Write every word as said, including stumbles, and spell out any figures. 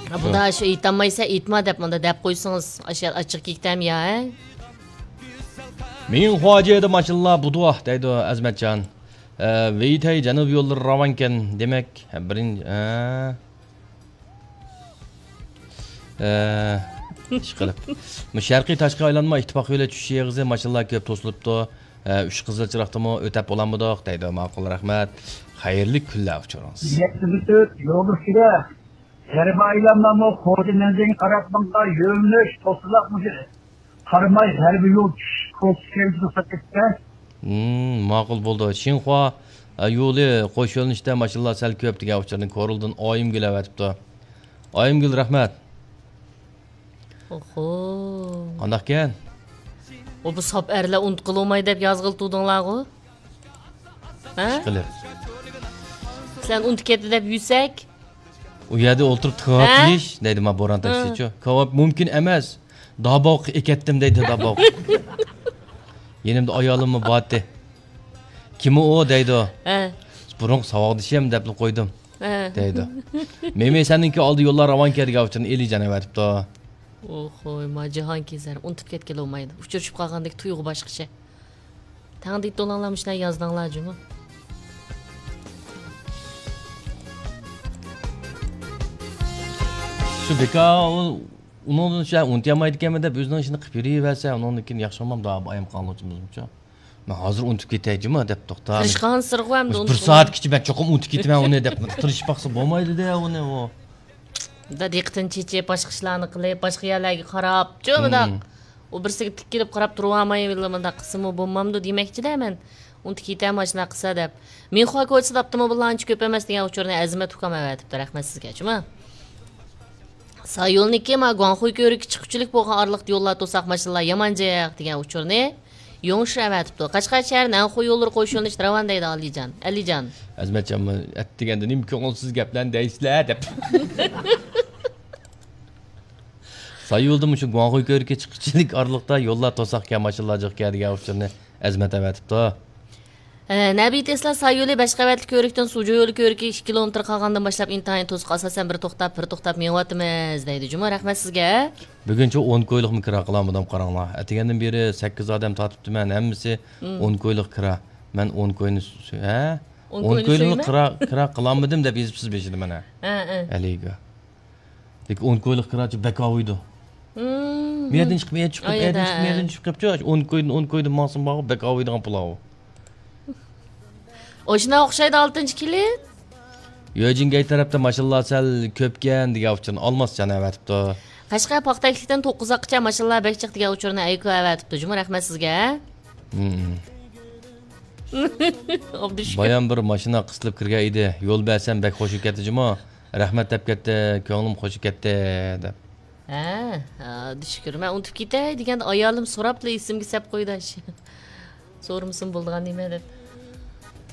ھە، بۇندا شۇ ئېيتالمايسەن، ئېيتما دەپ مۇندا دەپ قويسىڭىز، ئاشۇ ئاچچىق كېكىتەم يا، ھە؟ مىڭ خۇاجيېدە ماشىنىلار بۇدۇ دەيدۇ ئەزمەتجان. ئە، ۋېيتەي جەنۇب يوللىرى راۋانكەن، دېمەك، بىرىنچى، ئە، ئە، ئىشقىلىپ. مۇ شەرقىي تاشقى ئايلانما ئىتتىپاق يولى چۈشۈش ئېغىزى ماشىنىلار كۆپ توسۇلۇپتۇ. ئە، ئۈچ قىزىل چىراغدىمۇ ئۆتەپ بولالمىدۇق دەيدۇ. ماقۇل، رەھمەت. خەيرلىك كۈنلەر ئۇچۇرىڭىز. يەتتە تۆت يول ئۈستىدە غەربىي ئايلانمامۇ خوجا مەنزىلىگە قاراپ ماڭغان يۆنىلىش توسۇلۇپ مۇشۇ قاراماي غەربىي يول چۈشۈش كوچىسى كەنتىدە توختاپ كەتتى. مم، ماقۇل بولدى. شىنخۇا، ئە، يولى قوش يۆنىلىشتە ماشىنىلار سەل كۆپ دېگەن ئۇچۇرنى كورلدىن ئايىمگۈل ئەۋەتىپتۇ. ئايىمگۈل، رەھمەت. ئوخو. قانداقكەن؟ ئۇ بۇ ساپ ئەرلەر ئۇنتۇپ قالماي دەپ يازغىلى تۇردۇڭلارغۇ؟ ھە؟ ئىشقىلىپ. سەن ئۇنتۇپ كەتتى دەپ يۈرسەك؟ ئۇ يەردە ئولتۇرۇپ كاۋاپ ھە؟ يېيىش دەيدۇ، ما بوران ھە. تەكشىچۇ. كاۋاپ مۇمكىن ئەمەس. داباق ئەكەتتىم دەيدۇ، داباق. يېنىمدا ئايالىممۇ بارتى. كىم ئۇ دەيدۇ. ھە. بۇرۇنقى ساۋاقدىشىم دەپلا قويدۇم. ھە. دەيدۇ. مېمى سەنىڭكى ئالدى يوللار راۋانكەن دېگەن ئۇچۇرنى ئېلىجان ئەۋەتىپتۇ. ئوخوي، ما جاھانكېزەر، ئۇنتۇپ كەتكىلى بولمايدۇ. ئۇچرىشىپ قالغاندەك تۇيغۇ باشقىچە. تەڭ دېيىتتىڭلار مۇشۇنداق يازدىڭلار جۇمۇ. شۇ بىكار ئۇ، ئۇنىڭدىن شۇ ئۇنتۇيالمايدىكەنمەن دەپ ئۆزىنىڭ ئىشىنى قىلىپ يۈرۈۋەرسە، ئۇنىڭدىن كېيىن ياخشى بولمامدۇ، ئايام قالغۇچىمىزمۇچۇ. مەن ھازىر ئۇنتۇپ كېتەي جۇمۇ دەپ توختا. تىرىشقانسېرىغۇ ئەمدى بىر ئۇنتۇپ سائەتكىچە مەن چوقۇم ئۇنتۇپ كېتىمەن ئۇنى دەپ تىرىشىپ باقسا بولمايدۇ-دە ئۇنى ئۇ. دا دىققىتىنى چېچىپ، باشقا ئىشلارنى قىلىپ، باشقا يەرلەرگە قاراپ، جۇمۇداق. مم. ئۇ بىرسىگە تىكىلىپ قاراپ تۇرۇۋالماي، مۇنداق قىلسىمۇ بولمامدۇ دېمەكچىدە مەن. ئۇنتۇپ كېتەم، ئاشۇنداق قىلسا دەپ. مىنخۇا كوچىسىدا ئاپتوموبىللار ئانچە كۆپ ئەمەس دېگەن ئۇچۇرنى ئەزىمەت ئۇكام ئەۋەتىپتۇ، رەھمەت سىزگە، جۇمۇ. سايولنىكى ما گۇاڭخۇي كۆۋرۈكى چىققۇچىلىك بولغان ئارىلىقتا يوللار توساق ماشىنىلار يامان جىق دېگەن ئۇچۇرنى يوڭشى ئەۋەتىپتۇ. قەشقەر شەھەرى نەنخۇي يوللىرى قوش يۆنىلىشتە راۋان دەيدۇ ئالىجان، ئەلىجان. ئەزمەتجان، ئەتىگەندە نېمە كۆڭۈلسىز گەپلەرنى دەيسىلەر دەپ. سايولدا مۇشۇ گۇاڭخۇي كۆۋرۈكى چىققۇچىلىك ئارىلىقتا يوللار توساقكەن، ماشىنىلار جىقكەن دېگەن ئۇچۇرنى ئەزمەت ئەۋەتىپتۇ. ئە، نەبىي تېسلا سايولى بەش قەۋەتلىك كۆۋرۈكتىن سۇجۇ يولى كۆۋرۈكىگە ئىككى كىلومېتىر قالغاندىن باشلاپ ئىنتايىن توسۇق، ئاساسەن بىر توختاپ، بىر توختاپ مېڭىۋاتىمىز دەيدۇ جۇمۇ، رەھمەت سىزگە. بۈگۈنچە ئون كويلۇقمۇ كىرا قىلالمىدىم، قاراڭلار. ئەتىگەندىن بېرى سەككىز ئادەم تارتىپتىمەن، ھەممىسى مم. ئون كويلۇق كىرا. مەن ئون كوينى سۇ-، ھە؟ ئون ئون كوينى كويلۇقنى سۆيمە. كىرا، كىرا قىلالمىدىم دەپ يېزىپسىز بېشىدا مانا. ھە، ھە. ئەلىگە. لېكىن ئون كويلۇق كىراچى بەك ئاۋۇيدۇ. مم. مۇ يەردىن چىقىپ، مۇ يەردىن چىقىپ، مۇ يەردىن چىقىپ، مۇ يەردىن چىقىپ قېپچۇ. ئون كويدىن، ئون كويدىن ماڭسىمۇ بارغۇ، بەك ئاۋۇيدىغان پۇل ئاۋۇ. ئاشۇنداق ئوخشايدۇ ئالتىنچى كىلىت. يۆجىنگەي تەرەپتە ماشىنىلار سەل كۆپكەن دېگەن ئۇچۇرنى ئالماسجان ئەۋەتىپتۇ. قەشقەر پاختەكلىكتىن توققۇزاققىچە ماشىنىلار بەك جىق دېگەن ئۇچۇرنى ئەيكۇ ئەۋەتىپتۇ جۇمۇ، رەھمەت سىزگە. مم. ئابدۇشۈكۈر. بايام بىر ماشىنا قىستىلىپ كىرگەن ئىدى. يول بەرسەم بەك خۇشى كەتتى جۇمۇ. رەھمەت دەپ كەتتى، كۆڭلۈم خۇشى كەتتى دەپ. ھە، ئابدۇشۈكۈر. مەن ئۇنتۇپ كېتەي دېگەندە ئايالىم سوراپلا ئېسىمگە سەپ قويدى ئاشۇ. سورىمىسىمۇ بولىدىغان نېمە دەپ.